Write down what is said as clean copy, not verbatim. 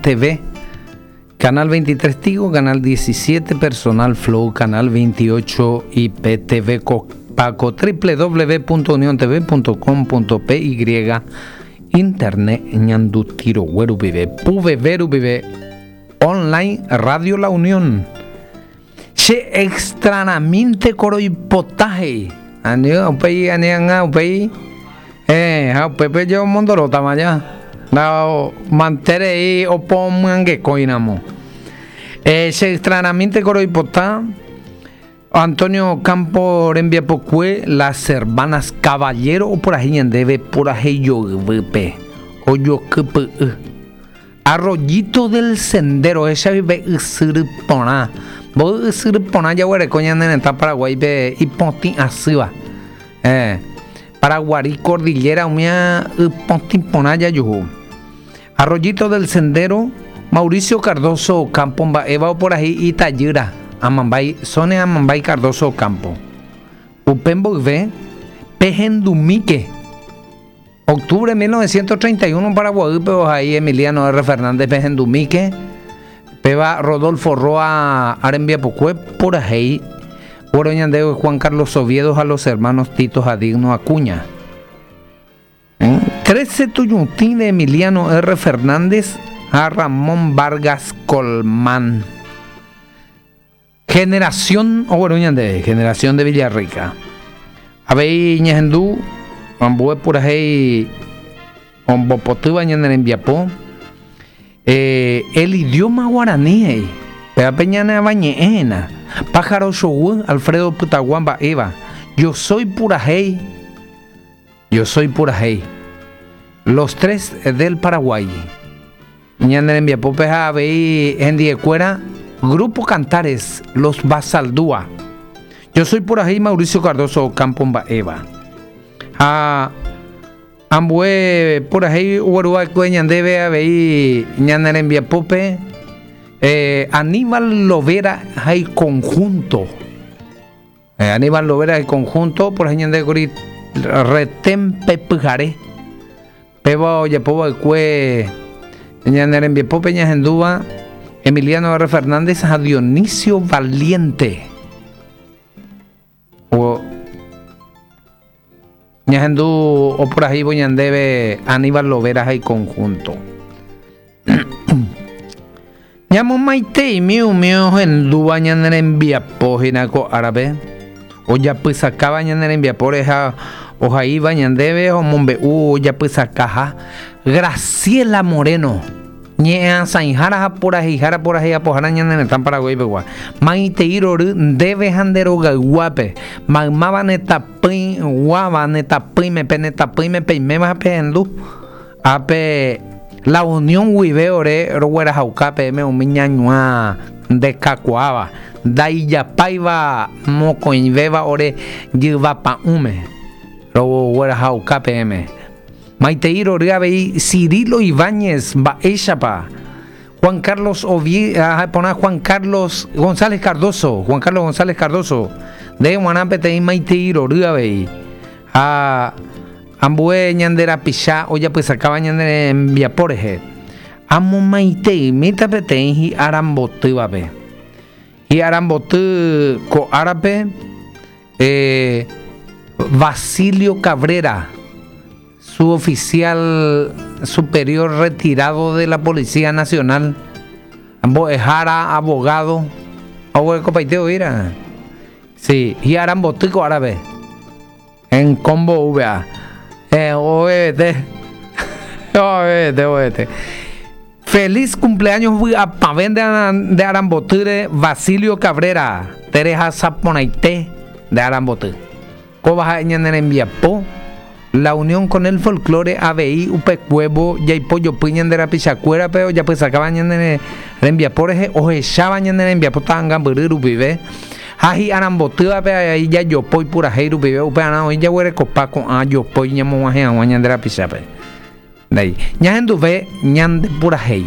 TV, Canal 23 Tigo, Canal 17 Personal Flow, Canal 28 IPTV Paco, www.uniontv.com.py, Internet Ñanduti Rogue rupive, PVV rupive, Online Radio La Unión. Che extranamínte koroipota he'i. Ani upéi ani ág̃a upéi eh, ha upépe je omondorótama ja. La manterei opomyangekóiramo. Eh, che extranamínte koroipota Antonio Campo rembiapokue Las Hermanas Caballero opurahéi ñandéve purahéi joyvýpe ojokypy'y. Arroyito del Sendero, ohechavive ysyry porã. Mboy ysyry porã jaguereko ñane retã Paraguáipe ipotĩ asýva. Eh, Paraguari Cordillera umía ypotĩ porã jajuhu. Arroyito del Sendero, Mauricio Cardozo Ocampo mba'éva oporahi itajýra, Amambái, Sonia Amambái Cardozo Ocampo. Upe mboyve, pehendumíke. Octubre 1931 Paraguaýpe ohai Emiliano R. Fernández pehendumíke, péva Rodolfo Roa rembiapokue purahéi guero ñandéve Juan Carlos Oviedo ha los hermanos Tito ha Digno Acuña. Trece Tuyutĩ de Emiliano R. Fernández ha Ramón Vargas Colmán. Generación ogueru ñandéve, Generación de Villarrica. Avei ñahendu ambue purahéi ombopotýva ñane rembiapo. Eh, el idioma guaraní he'i, péva pe ñane avañe'ẽ hína. Pájaro choguy, Alfredo Pytagua mba'éva. Yo soy purahéi, yo soy purahéi. Los tres del Paraguay. Ñane rembiapópe ha avei hendiekuéra Grupo Cantares, Los Basaldúa. Yo soy purahéi Mauricio Cardozo Ocampo mba'éva. Ha ambue purahéi ogueruva'ekue ñandéve avei ñane rembiapópe eh, Aníbal Lovera ha iconjunto. Eh, Aníbal Lovera y conjunto, por ahí ñande kuri retén pe pyhare. Péva ojapo va'ekue ñane rembiapópe ñahendúva Emiliano R. Fernández ha Dionisio Valiente. O ñahendu opurahéivo ñandéve Aníbal Lovera ha iconjunto. Ñamomaiteimi umi ohendúva ñane rembiapo hína ko árape, ojapysakáva ñane rembiapóre ha ohaíva ñandéve omombe'u ojapysakaha Graciela Moreno, ñe'ẽasãihára ha puraheihára puraheiapohára ñane retã Paraguái pegua. Maitei rory ndéve ha nde rogayguápe, maymáva ne tapỹiguáva ne tapỹime, pene tapỹime peiméva ha pehendu. Ápe La Unión guive ore roguerahauka peẽme umi ñañuã ndekakuaáva, ndaijapáiva mokõivéva ore jyva pa'ũme, roguerahauka peẽme. Maitei rory avei Cirilo Ibáñez, mba'éichapa? Juan Carlos Ovie, ah, porã Juan Carlos González Cardozo, Juan Carlos González Cardozo, nde g̃uarã peteĩ maitei rory avei. Ha ambue ñande rapicha ojapysakáva ñane rembiapo rehe, amomaiteimíta peteĩ hi'arambotývape. Hi'aramboty ko árape, eh, Basilio Cabrera, suboficial superior retirado de la Policía Nacional, mbo'ehára, abogado, oguerekopaite oĩra. Sí, hi'aramboty ko árape. En combo VA. Eh, OBT. OBT, OBT. Feliz cumpleaños vy'apavẽ nde arambotýre Basilio Cabrera, terehasa porãite nde aramboty. Kóva ha'e ñane rembiapo, La unión con el folklore avei upekuévo jaipojopy ñande rapichakuérape ojapysakáva ñane rembiapo rehe, ohecháva ñane rembiapo ta'angambyry rupive ha hi'arambotývape avei jajopói purahéi rupive, upearã oĩ jaguerekopa ko'ã jopói ñamog̃uahẽ hag̃ua ñande rapichápe. Ndéi, ñahenduve ñande purahéi.